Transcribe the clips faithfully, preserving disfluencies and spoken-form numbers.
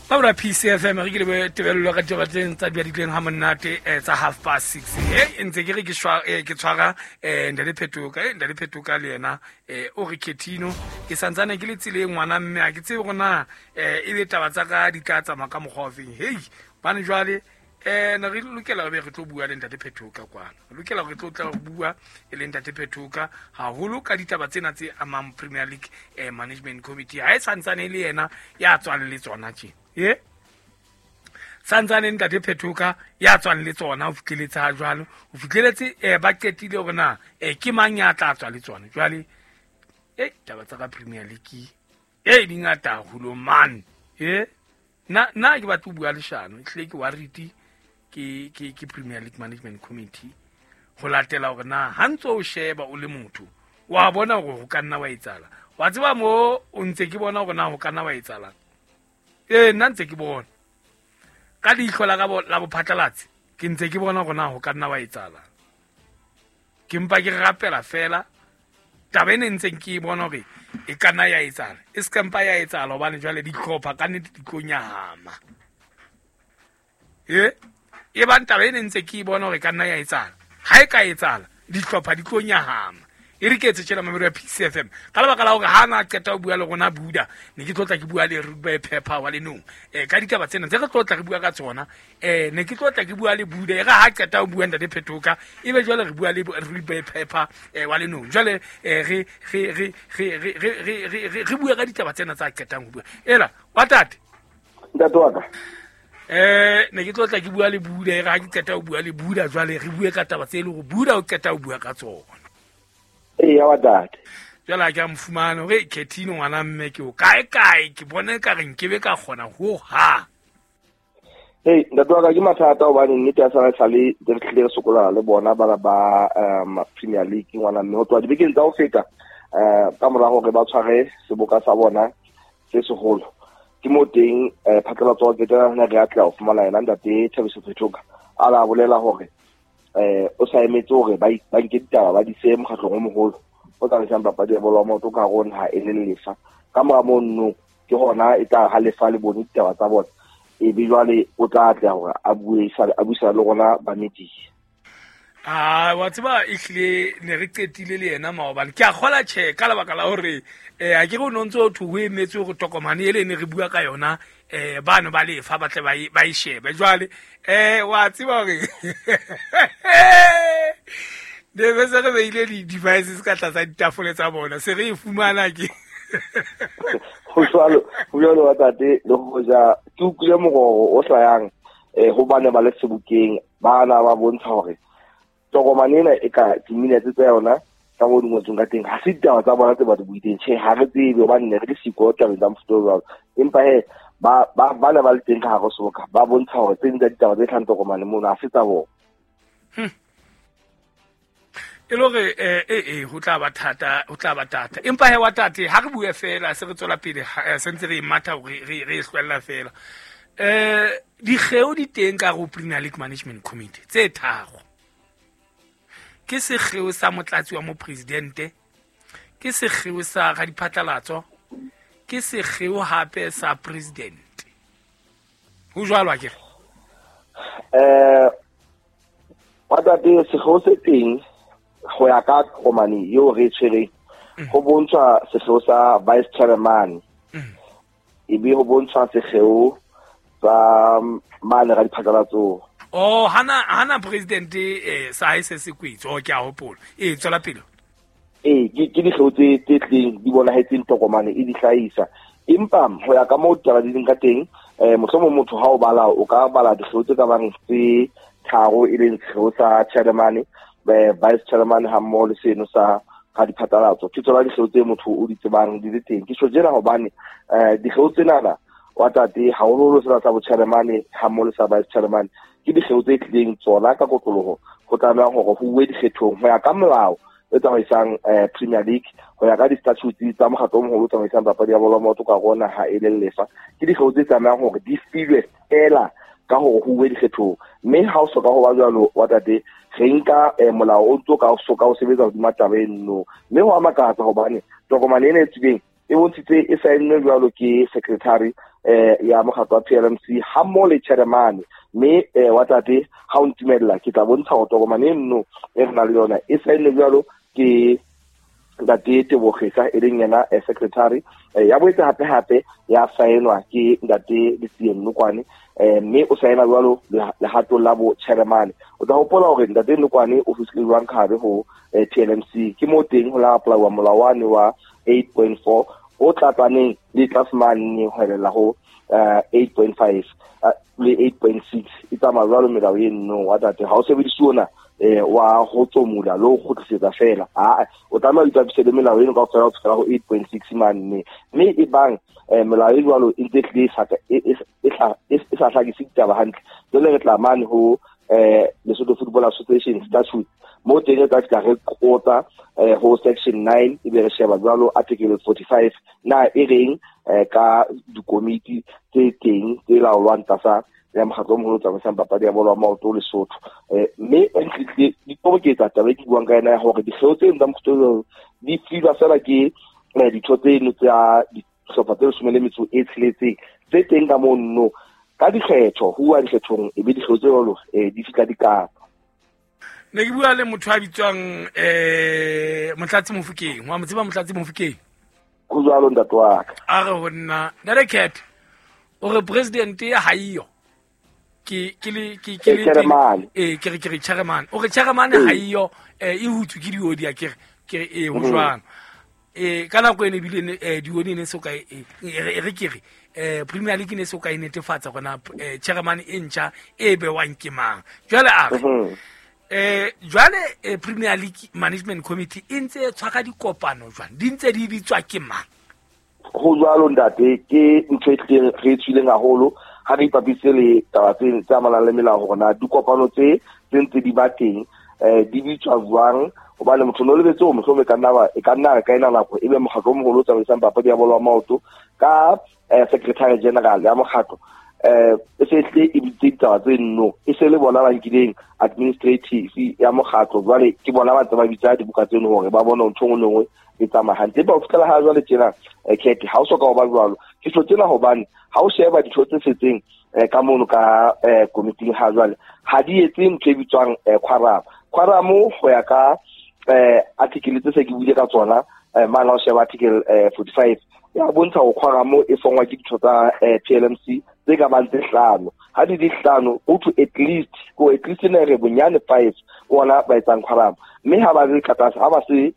Ba P C F M re ke le tebello ka ditaba tse tsa diadileng ha monate tsa half past six. He ntse ke re ke shwa ke tshwara eh Ntate Phetoka eh Ntate Phetoka le yena eh o re Ketino ke santsane ke le tseleng ngwana mme a ke tsebe gona eh e be taba tsa ka di tla tsamaya ka mokgwa o feng. Hei bane jwale eh na re lokela re re tlo bua le Ntate Phetoka kwana. Re lokela re tlo tla bua e le Ntate Phetoka haholo ka ditaba tsena tse amang Premier League eh Management Committee. Ha e santsane le yena ya tswang le tsona tje. Ye santsane Ntate Phetoka ya tswang le tsona o fihleletse ha jwalo o fihleletse eh ba qetile hore na eh ke mang ya tla tswa le tsona jwale eh taba tsa ka Premier League eh di ngata haholo man eh na na ke batla ho bua leshano ehlile ke worried ke ke ke Premier League Management Committee ho latela hore na ha ntso o sheba o le motho wa bona hore ho ka nna wa etsala wa tseba mo o ntse ke bona hore na ho ka nna wa etsala eh nna ntse ke bona ka leihlo la ka la bophatlalatsi ke ntse ke bona hore na ho ka nna wa etsala ke mpa ke rapela fela taba ene ntseng ke bona hore e ka nna ya etsala e se ka mpa ya etsala hobane jwale dihlopha ka nnete di tlo nyahama eh e bang taba ene ntse ke bona hore ka nna ya etsala ha e ka etsala dihlopha di tlo nyahama e re ke etse tjela mamelo ya P C F M ka lebaka la hore ha na qeta ho bua le rona Buda ne ke tlotla ke bua le Rugby Pepper wa lenong eh ka ditaba tsena tse re tlotla re bua ka tsona eh ne ke tlotla ke bua le Buda e re ha qeta ho bua Ntate Phetoka e be jwale re bua le Rugby Pepper eh wa lenong jwale eh re re re re re re re re bua ka ditaba tsena tsa qetang ho bua ela wa tate ntate wa ka eh ne ke tlotla ke bua le Buda e re ha ke qeta ho bua le Buda jwale re bue ka taba tse le hore Buda o qeta ho bua ka tsona. Ee wa tate jwale ha ke a mofumana hore Ketino ngwana mme ke o kae kae ke bone ka re nkebe ka kgona ho ha. Hey ntate wa ka ke mathata hobane nnete ya sala sale re tlile re sokola le bona bana ba um Premier League ngwana mme ho tloha dibekeng tsa ho feta eh ka mora hore ba tshware seboka sa bona se seholo ke mo teng phatlalatso wa ketana re a tla ho fumana yena Ntate Thabiso Phetoka a la bolela hore eh o sa emetse hore ba ba nke ditaba ba di se mokgatlong o moholo o tsamaisang papadi ya bolo ya maoto ka rona ha e le lefa ka mora mono ke hona e tla ha lefa le bone ditaba tsa bona e be jwale o tla atleha hore a bue a buisana le rona ba media. Ah wa tseba ehlile ne re qetile le yena maobane ke a kgola tjhe ka lebaka la hore eh a ke re o ntse o thu ho emetse hore tokomane ele ne re bua ka yona eh bano ba lefa ba tle ba ba e shebe jwale eh wa tseba hore de be se re beile di devices ka tlatsa ditafole tsa bona se re e fumana ke ho jwalo ho jwalo wa tate le hoja ke utlwile mororo o hlayang eh ho bane ba le sebokeng bana ba bontsha hore tokomane ena e ka di-minutes tsa yona ka mo di ngotsweng ka teng ha se ditaba tsa bona tse ba di buileng tjhe ha re tsebe hobane ne re le siko tabeng tsa mofuta o jwalo empa he ba ba ba ne ba le teng ka hare ho seboka ba bontsha hore tse ding tsa ditaba tse hlahang tokomane mono ha se tsa bona. E le hore eh eh ho tla ba thata ho tla ba thata empa he wa tate ha re bue fela se re tswela pele se ntse re matha hore re re hlwella fela eh dikgeo di teng ka ho Premier League Management Committee tse tharo ke sekgeo sa motlatsi wa mopresidente ke sekgeo sa radiphatlalatso ke sekgeo hape sa president ho jwalo a ke re eh wa tate sekgeo se teng ho ya ka tokomane eo re tshwereng ho bontshwa sekgeo sa vice chairman e be ho bontshwa sekgeo sa mane radiphatlalatso. Oh hana hana president eh sa hae se se kwetse o ke a hopola e tswela pele eh ke ke dikgeo tse tse tleng di bonahetseng tokomane e di hlahisa empa ho ya ka moo ditaba di leng ka teng eh mohlomong motho ha o bala o ka bala dikgeo tse ka bang tse tharo e leng sekgeo sa chairman eh vice chairman ha mmoho le seno sa ga diphatlalatso ke tsona dikgeo tse motho o di tsebang di le teng ke tjho jena hobane eh dikgeo tsenana wa tate haholoholo sena sa bo chairman ha mmoho le sa vice chairman ke dikgeo tse tlileng tsona ka kotloloho ho tlameha hore ho uwe dikgethong ho ya ka molao e tsamaisang eh Premier League ho ya ka di-statutes tsa mokgatlo o moholo o tsamaisang papadi ya bolo ya maoto ka rona ha e le lefa ke dikgeo tse tlamehang hore di filwe fela ka hore ho uwe dikgethong mme ha o soka ho ba jwalo wa tate re nka molao o ntso ka soka o sebetsa hodima taba eno mme ho a makatsa hobane tokomane ena e tswileng e bontshitse e saennwe jwalo ke secretary eh ya mokgatlo wa P L M C ha mmoho le chairman mme eh wa tate ha o ntumella ke tla bontsha hore tokomane eno e re nang le yona e saenne jwalo ke ntate Tebogesa e leng yena secretary ya boetse hape hape ya saenwa ke ntate Letsie Nokwane eh mme o saena jwalo lehatong la bo chairman. O tla hopola hore ntate Nokwane o fihlile jwang ka hare ho P L M C ke mo teng ho la apply-wa molao wane wa eight point four o tlatsaneng le tlase mane ho elela ho eight point five le eight point six e tsamaya jwalo melao eno wa tate ha o sebedise ona eh wa ho tsomula le ho kgutlisetsa fela a o tlameha o ipapise le melao eno kaofela ho fihlela ho eight point six mane mme e bang melao e jwalo e ntse hlile e sa hlakise ditaba hantle jwale re tla mane ho eh Lesotho Football Association statute mo teng re tla fihla re qotsa ho section nine ebe re sheba jwalo article forty-five na e reng ka dikomiti tse teng tse laolwang tlasa ya mokgatlo o moholo o tsamaisang papadi ya bolo ya maoto Lesotho. Mme di toboketsa taba e ke buang ka yena ya hore dikgeo tseno tsa mokgatlo di filwa fela ke ditho tseno tsa dihlopha tse leshome le metso e tsheletseng tse teng ka mono ka dikgetho ho uwa dikgethong ebe dikgeo tse jwalo di fihla di kapa. Ne ke bua le motho a bitswang eh Motlatsi Mofokeng wa mo tseba Motlatsi Mofokeng ho jwalo ntate wa ka a re ho nna ntate Cat o re president ya ha iyo ke ke le ke ke le eh ke re ke re chairman o re chairman ha iyo e hutswe ke diodi a ke re ke re eh ho jwang eh ka nako ene bile eh diodi ne so ka e re ke re eh Premier League ne so ka e netefatsa gona chairman e ntjha e bewang ke mang jwale a re eh jwale Premier League Management Committee e ntse e tshwara dikopano jwang di ntse di bitswa ke mang ho jwalo ntate ke ntho e tlileng re tswileng haholo ha re ipapise le taba tse tse amanang le melao hore na dikopano tse tse ntse di ba teng eh di bitswa jwang hobane motho no lebetse hore mohlomong e ka nna e ka nna ka ena nako ebe mokgatlo o moholo o tsamaisang papadi ya bolo ya maoto ka secretary general ya mokgatlo eh e se tle e bitse ditaba tse nno e se le bona ba nkileng administrative ya mokgatlo jwale ke bona ba tse ba bitsa dibuka tseno hore ba bone ntho nngwe le nngwe e tsamaya hantle. Empa ho fihlela ha jwale tjena Cat ha o soka ho ba jwalo ke tlo tsena hobane ha o sheba ditho tse setseng ka mono ka committee ha jwale ha di etse ntho e bitswang quorum. Quorum ho ya ka article tse se ke buile ka tsona mane ha o sheba article forty-five ya bontsha ho quorum e fongwa ke ditho tsa P L M C tse ka bang tse hlano ha di di hlano go to at least go at least ne re bonyane five ona ba etsang quorum mme ha ba le ka tlase ha ba se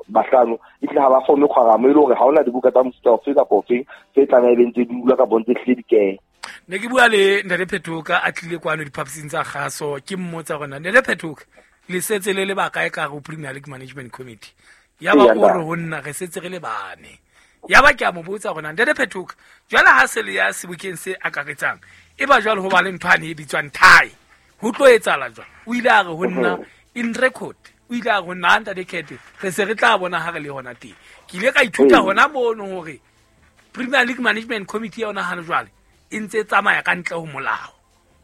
bahlano e tle ha ba forme quorum e le hore ha ona dibuka tsa mofuta ofe kapa ofe tse tlameha e ntse di dula ka bontse hlile di kene. Ne ke bua le Ntate Phetoka a tlile kwano diphaposing tsa kgaso ke mmotsa gona Ntate Phetoka le setse le le bakae ka go Premier League Management Committee ya ba o re ho nna re setse re le bane ya ba ke a mo botsa gona Ntate Phetoka jwale ha se le ya sebokeng se akaretsang e ba jwale ho ba le ntho ane e bitswang thai ho tlo etsahala jwang o ile a re ho nna in record o ile a re ho nna Ntate Cat re se re tla bona ha re le hona teng ke ile ka ithuta hona mono hore Premier League Management Committee ya yona ha jwale e ntse e tsamaya ka ntle ho molao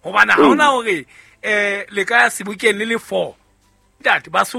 hobane ha hona hore eh le ka ya sebokeng le le four ntate Basotho